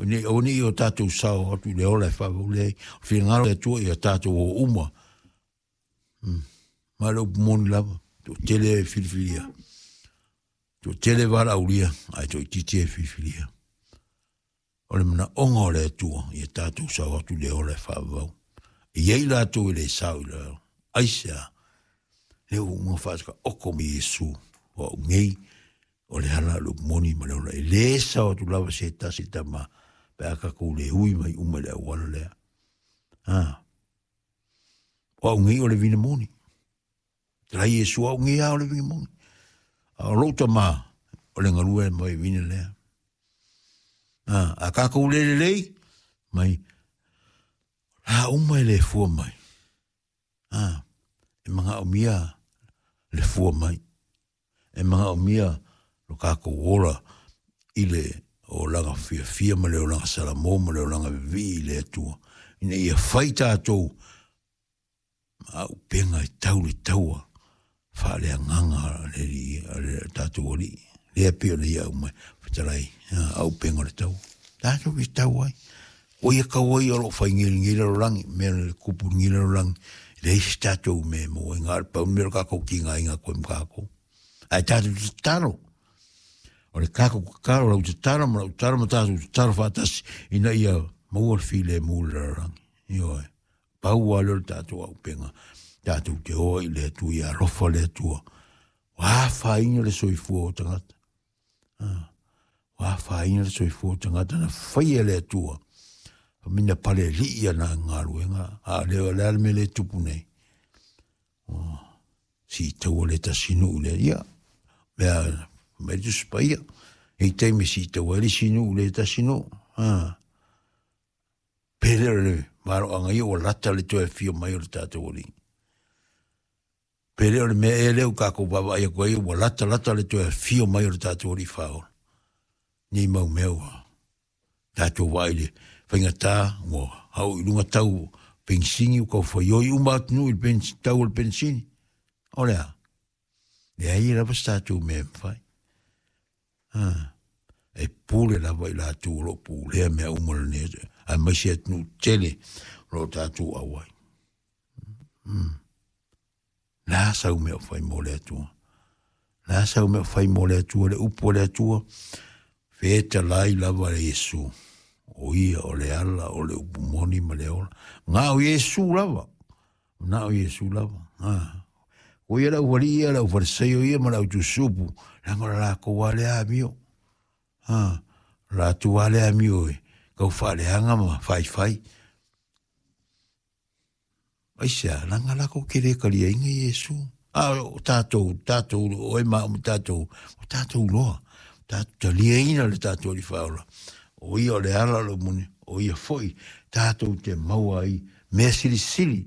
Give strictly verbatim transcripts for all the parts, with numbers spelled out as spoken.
Nei o ni o tātou sao atu i le ola e whaavau lea. O whingaro e tua i a tātou o uma. Mm. Ma le upu moni lava. To tele e filifilia. To tele wara aulia. Ai to itiiti e filifilia. O le mana onga o le atua i a tātou sao atu le ola e whaavau. E iei lātou e le sao i le aisea. Le o unga whaasaka oko mi Yesu. O au ngei o le hala le upu moni ma le ola. E le sao atu lava se tasi tama. Pe a kakou le hui mai uma le auala lea. Ah. O au ngei o le vina moni. Te lai Yesu au ngei a o le vina moni. A o lou tama o le ngalua e mai vina lea. Ah, a kakou le lelei mai la uma e le fua mai. Ah, e manga o mia le fua mai. E manga o mia lo kakou ola i le o laga fia fia ma le o laga salamo ma le o laga vivi i le atua. Ina ia fai tātou ma au penga i tau le taua whaale anganga le li le tātou oli. Lea pio le ia umai whatalai au penga le tau. Tātou i tau ai. O ia kau ai o lo whai ngiri ngiri ro rangi, mea le kupu ngiri ro rangi. Le isi tātou me mo i ngā pau mea kako ki ngā inga koe mkako. Ai tātou te taro. O le kako kakaro lau te taro ma lau taro ma tātou te taro whaatasi ina ia maua le file mula le rangi. Ioe. Pau a leo le tātou au penga. Tātou te hoa i le atua, ia alofa le atua. Wā whainga le soifua o tangata. Ah. Wā whainga le soifua o tangata na whaia le atua. Mina pale li ia na ngā A leo le ale me le tupu nei. Oh. Si taua le tasinu le ia. Mea me tu spaia. E teime si taua le sinu le tasinu. Ah. Pele le maro anga ia o lata le toe fio mai o le tātou oli. Pele o le mea e leo kako baba ia koe o lata lata le toe fio mai o le tātou oli whaola. Ni mau mea ua. Tātou wai le whaingatā, ua hau i lunga tau pensini, u kau whaioi uma atu i le tau o le pensini. O lea. Lea ia lava se tātou mea mwhai. Ah. E pule lava i lātou o lo pulea mea uma le nea. Ai mai se atu tele o lo tātou awai. Mm. La sau mea whai mō le atua. La sau mea whai mō le atua, le upu le atua. Wheta lai lava le Yesu. O ia o le ala, o le upu moni ma le ola. Ngā o Yesu lava. Ngā o Yesu lava. Ah. O ia lau wali ia, lau whareseio ia, ma lau tusupu. Langa la lako wale a mio. Ah. La tu wale a mio e. Kau whaleanga ma whai whai. Aisea, langa lako kere kalia inga Yesu. Ah, o tātou, tātou, o e maa o tātou, o tātou loa. Tātou talia ina le tātou ali whaola. O ia o le ala lo muni, o ia foi, tātou te maua ai, mea sili sili.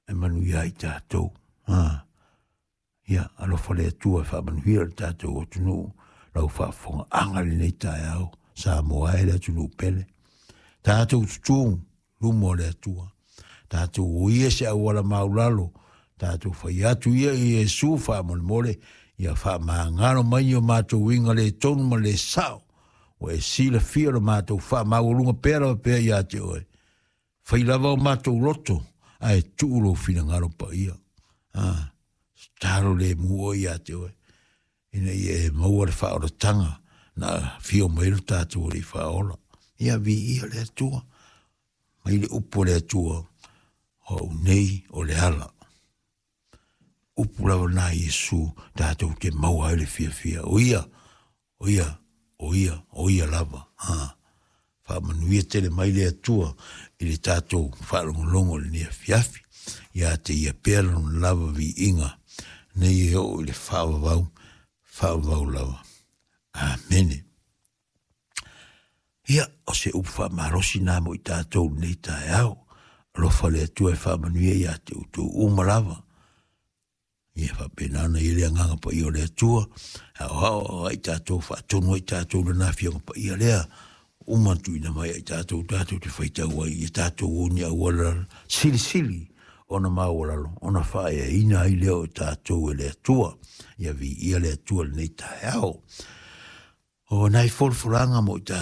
E manu ia i tātou. Ah. Ia, alofa le atua e whaamanuia le tātou o tunu, lau whaafonga anga le nei tae au, sa moa e le atunu pele. Tātou tutu, lumo le atua. Tātou o ia se auala maulalo, tātou whai atu ia i Yesu whaamolemole, ia whaamangaro mai o mātou inga le tonu ma le sao. O e sila fia lo mātou whaamaulunga pera o pea ia te oe. Whai lava o mātou loto, ae tuulo whinangaro pa ia. Ah, taro le mua ia te oe. Ina ia e maua le whaoratanga, na whio mai lo tātou o le whaola. Ia vi ia le atua, mai le upo le atua, o nei o le ala. Upu lava nā Yesu, tātou te maua ai le fia fia. O ia, o ia, o ia, o ia lava. Ha. Whaamanuia tele mai le atua i le tātou whaalongolongo le nia fiafi. Ia te ia pera lona lava vi inga. Nei e o i le whaavavau, whaavavau lava. Amene. Ia, o se upu whaamarosi nā mo i tātou nei tae au. Alofa le atua e whaamanuia ia te utu uma lava. Ia whapenana i le anganga pa ia o le atua. Hao hao ai tātou whaatonu ai tātou le nā whianga pa ia lea. Uma tuina mai ai tātou tātou te whaitau ai. Ia tātou o ni auala sili sili ona maualalo. Ona whaea ina ai leo o tātou e le atua. Ia vi ia le atua le nei tae ao. O nai folfolanga mo i tātou.